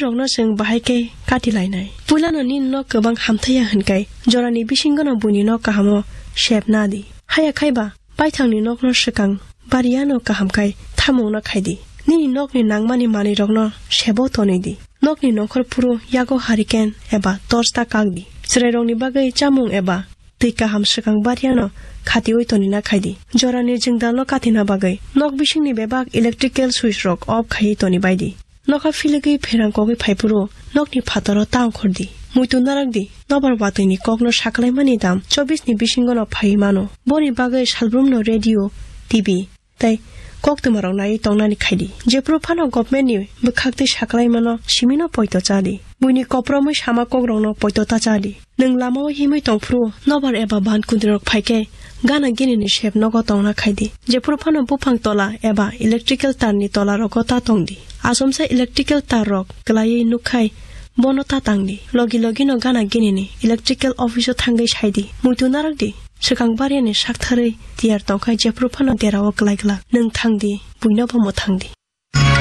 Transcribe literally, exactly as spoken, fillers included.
rokno chwng bahai khe kati lainai. Puilano nini nok kwbang hamthaiya hwnkhai jorani bisingono buini nok kahamo sep na di. Haya khai ba baithangni nokno swkang bariyano kaham khai thamungno khai di. Nini nokni nangmani manwirokno sebo tonwi di. Nokni nongkhor phuru yago hurricane eba torch ta kak di. Chwrairokni bagwi chamung eba twi kaham swkang bariyano khatiui tonina khai di. Jorani jwngdalno katina bagwi nok bisingni bebak electrical switch rok off khaiwi toni bai di. Nokha philwgwi pherang kogwi phaiphuru nokni phataro ta ongkhor di. Muitu narak di, nobar watwini kokno saklaimani dam chobbish ni bisingono phaiwi mano. Boni bagwi salbrumno radio, T V tei koktwmarok naiwi tongnani khai di. Jephuru phano government ni bwkhak tei saklaimano simino poito cha di. Buini kopromwi sama kokrokno poito ta cha di. Nwng lamao himwi tongphuru nobar eba ban kundrirok phai khe gana ginini sep nogo tongna khai di. Jephuru phano buphang tola eba electrical tarni tolarogo ta tong di. Achomsa electrical tarrok kwlaiwi nuk khai bono ta tang di. Logi logino gana ginini electrical office o thangwi sai di. Muitu narak di. Swkang bariyani saktharwi tiyar tongkhai jephuru phano derao kwlai glak. Nwng thang di, buinobo mwthang di.